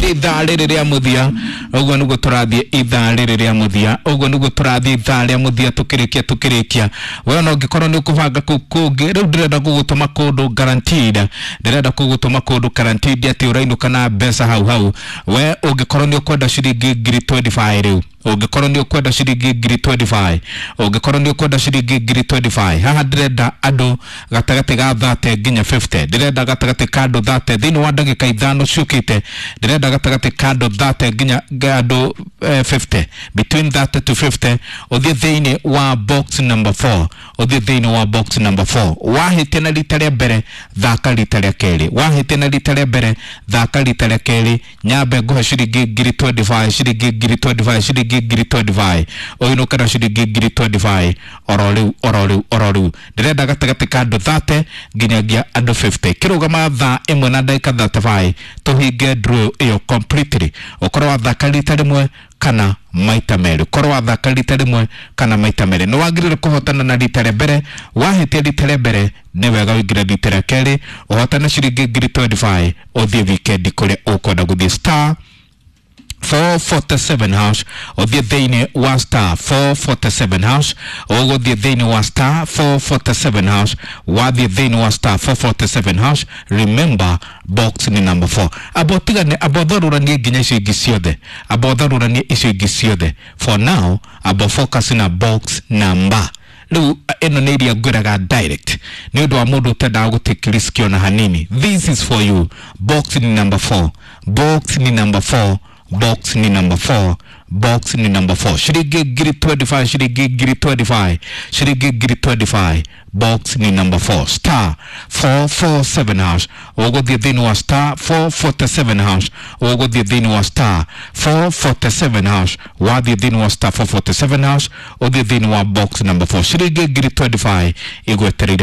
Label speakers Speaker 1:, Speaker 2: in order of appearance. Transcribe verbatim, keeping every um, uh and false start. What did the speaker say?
Speaker 1: Tũrathiĩ ithaa rĩrĩ rĩa mũthia, ũguo nĩguo tũrathiĩ ithaa rĩrĩ rĩa mũthia, ũguo nĩguo tũrathiĩ ithaa rĩa mũthia. Tũkĩrĩkia tũkĩrĩkia we ona ũngĩkorwo nĩ ũkũbanga kũu kũngĩ, rĩu ndĩrenda gũgũtũma kũndũ guaranteed, ndĩrenda gũgũtũma kũndũ guaranteed atĩ ũrainũka na mbeca hau hau. We ũngĩkorwo nĩ ũkwenda ciringi ngiri mĩrongo ĩrĩ na ithano rĩu, ũngĩkorwo nĩ ũkwenda ciringi ngiri mĩrongo ĩrĩ na ithano, ũngĩkorwo nĩ ũkwenda ciringi ngiri mĩrongo ĩrĩ na ithano, haha ndĩrenda andũ gatagatĩ ga mĩrongo ĩtatũ nginya mĩrongo ĩna. Ndĩrenda gatagatĩ ka andũ mĩrongo ĩtatũ thĩinĩ wa ndagĩka ithano ciũkĩte. Ndĩrenda gatagatĩ ka andũ mĩrongo ĩtatũ nginya andũ eh, mĩrongo ĩna, between thirty to fifty. Ũthiĩ thĩinĩ wa box number four, ũthiĩ thĩinĩ wa box number four. Wahĩtia na rita rĩa mbere, thaka rita rĩa kerĩ. Wahĩtia na rita rĩa mbere, thaka rita rĩa kerĩ. Nyambe ngũhe ciringi ngiri mĩrongo ĩrĩ na ithano, ciringi ngiri mĩrongo ĩrĩ na ithano, ciringi ngiri mĩrongo ĩrĩ na ithano. Ũinũke na ciringi ngiri mĩrongo ĩrĩ na ithano oro rĩu, oro rĩu, oro rĩu. Ndĩrenda gatagatĩ ka andũ mĩrongo ĩtatũ nginyagia andũ mĩrongo ĩna. Kĩrũgama thaa ĩmwe na ndagĩka mĩrongo ĩtatũ na ithano tũhinge draw ĩyo completely. Ũkorwo wathaka rita rĩmwe kana maita merĩ, ũkorwo wathaka rita rĩmwe kana maita merĩ, nĩ wagĩrĩire kũhotana na rita rĩa mbere. Wahĩtia rita rĩa mbere, nĩ wega ũingĩre rita rĩa kerĩ, ũhotane ciringi ngiri mĩrongo ĩrĩ na ithano, ũthiĩ weekend kũrĩa ũkwenda gũthiĩ. Star four forty-seven hash, ũthiĩ thĩinĩ wa star four forty-seven hash, ũgũthiĩ thĩinĩ wa star four forty-seven hash. Wathiĩ thĩinĩ wa star four forty-seven hash, remember box ni number four. Amba ũtigane, amba ũtharũranie nginya icio ingĩ ciothe, amba ũtharũranie icio ingĩ ciothe. For now, amba focus na box number. Rĩu ĩno nĩ iria ngwĩraga direct nĩ ũndũ wa mũndũ ũtendaga gũtake risk ona hanini. This is for you. Box ni number four, box ni number four, box ni number four, box ni number four. Ciringi ngiri mĩrongo ĩrĩ na ithano, ciringi ngiri mĩrongo ĩrĩ na ithano, ciringi ngiri mĩrongo ĩrĩ na ithano. Box ni number four, star four forty-seven hash. Ũgũthiĩ thĩinĩ wa star four forty-seven hash, ũgũthiĩ thĩinĩ wa star four forty-seven hash. Wathiĩ thĩinĩ wa star four forty-seven hash, ũthiĩ thĩinĩ wa box number four, ciringi ngiri mĩrongo ĩrĩ na ithano igwetereire.